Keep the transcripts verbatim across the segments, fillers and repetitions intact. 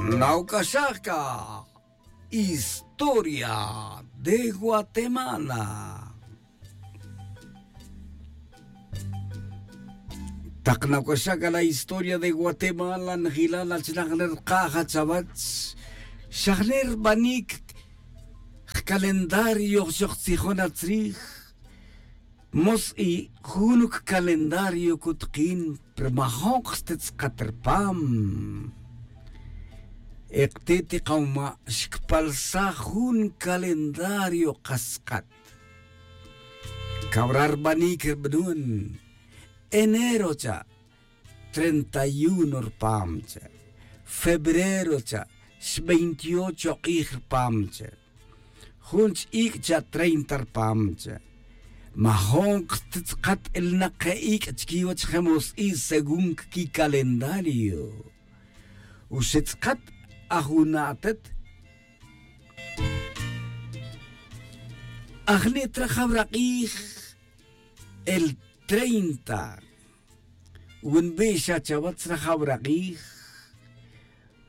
Nauc'axaj ca historia de Guatemala. Tak nauc'axaj ca la historia de Guatemala, njilal achnak nerkaj chawech, xajner rbanic jcalendario xoj tzijon atzrij. Mos i jun calendario cutukin, pero majon kste tz'akat rpam. Ekti ti kawma' xcpalsaj jun calendario kas tz'akat. Cawra rbanic rbnun enero cha' treinta y uno rpam cha', febrero cha' xveintiocho k'ij rpam cha', jun ch'ic' cha' treinta rpam cha'. Majon kste tz'akat elnak ke ic' chiquiwech jemos i según cquicalendario. Uxe tz'akat ajuna' atet ajni' trajaw rak'ij el treinta. Wi nbixa chawech rajaw rak'ij,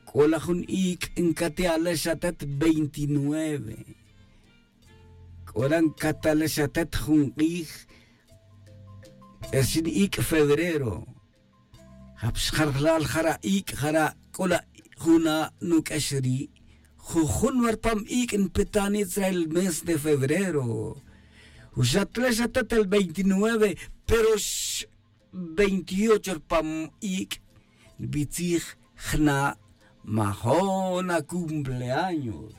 c'o la jun ic' ncati'alex atet veintinueve. C'o la ncatalex atet jun k'ij, el xin ic' febrero. Japxjarjlal jara' ic' jara' c'o la juna' nuq'uex ri'. Jujun wa rpam ic' npetani' tzra el mes de febrero. Uxatlex atet el veintinueve, pero veintiocho rpam ic' nbitzij jna' majona cumpleaños.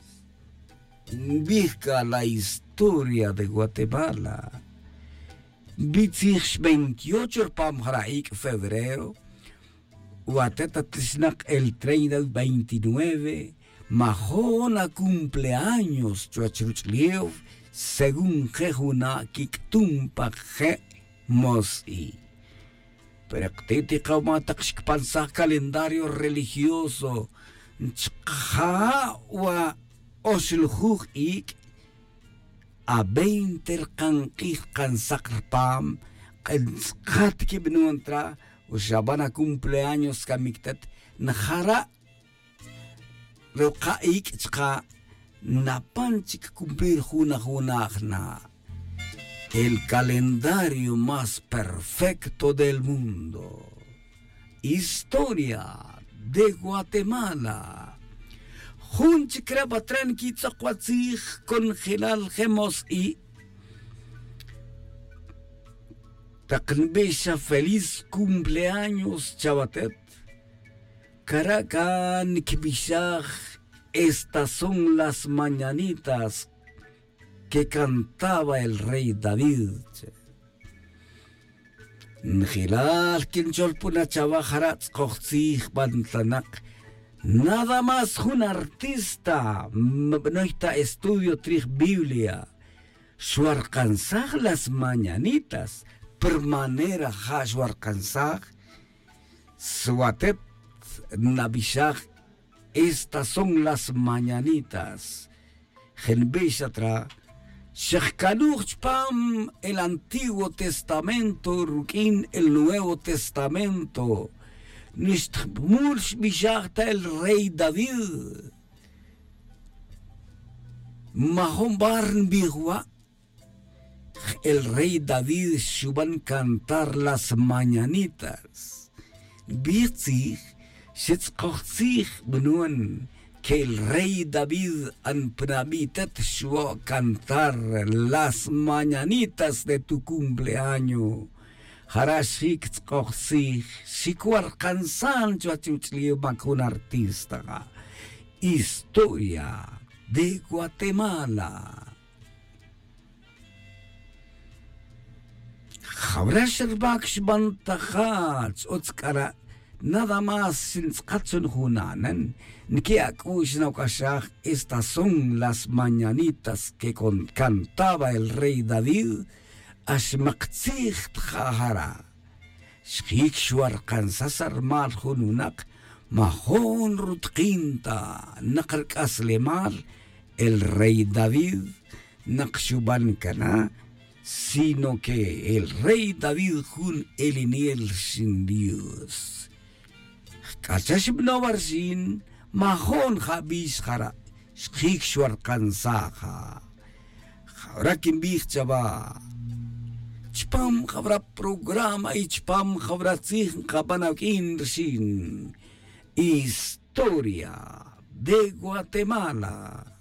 Nbij ca la historia de Guatemala. Nbitzij veintiocho rpam jara' ic' febrero. Watet atlixnak el treinta veintinueve majona cumpleaños chuwech ruch'ulef. Según je' juna' quic'tum pa je' mos i. Pero kti' ti kawma' tak xcpansaj calendario religioso, nchkaja'wa' oxlujuj ic'. A veinte rkan k'ij rkan sak rpam. K'en tz'akat quibnun tra, uxaban a cumpleaños camic tet, njara' ruka' ic' chka' napan chic cumplir jun ajuna' jna'. El calendario más perfecto del mundo. Historia de Guatemala. Jun chic re ba tra nquitz'ok wa tzij conjelal jemos i. Tak nbixa feliz cumpleaños chawatet. Cara' ca nquibixaj estas son las mañanitas que cantaba el rey David. Njelal quinchol puna chawa jara' tz'ukoj tzij bantlanak. Nada más jun artista mabanoy ta estudio trij Biblia xwarkansaj las mañanitas. Por manera ja' xwarkansaj. Swatet nabixaj estas son las mañanitas. Jenbix atra xejcanuj chupam el antiguo testamento ruq'uin el nuevo testamento. Nixtjmul xbixaj ta el rey David. Majun bar nbij wa'. El rey David xuban cantar las mañanitas. Nbij tzij, xetz'koj tzij bnun que el rey David anpnabi' tet xuo' cantar las mañanitas de tu cumpleaño. Jara' xjic tz'koj tzij xicuarkansan chuwech uch'lil mac jun artista. Historia de Guatemala. Jawra xerbac xbantaja ch'utz c'ara'. Nada más xintz'akat chun juna'nen nqui'ac'u'x nauc'axaj. Estas son las mañanitas que cantaba el rey David. Axmak tzij tja jara'. Xjic xwarkansaj sa' rmal jun winak majun rutkin ta nak rc'aslemal. El rey David nak xuban cana sino que el rey David jun elinel rxin Dios. Jc'acha xbanow arxin Majon jabi' xjara' xjic xwarkansaja. Jawra quinbij chawa chupam jawra programa y chupam jawra tzij nkaban awuq'uin rixin historia de guatemala.